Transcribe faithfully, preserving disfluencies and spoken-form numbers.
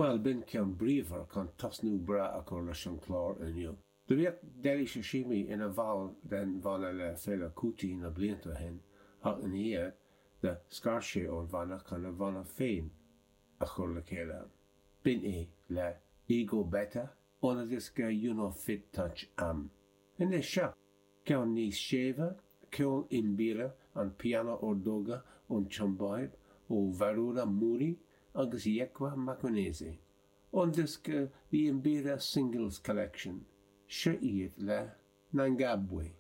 Bhuel, b'in ceann bríomhar chun tosnú breá a chur leis an chlár inniu. Do bhíodh Dele Sosimi ina bhall den bhanna le Fela Kuti na blianta ó shin ach ina dhiaidh do scar sé ón bhanna chun a bhanna féin a chur le chéile. B'in é le E Go Beta óna dhiosca You No Fit Touch Am. Anois seo ceann níos séimhe, ceol mbira, an pianó ordóga ón tSiombáib, ó Mharura Muri agus Yekwa Makonese. Ón diosca The Mbira Singles Collection, seo iad le Nangabwe.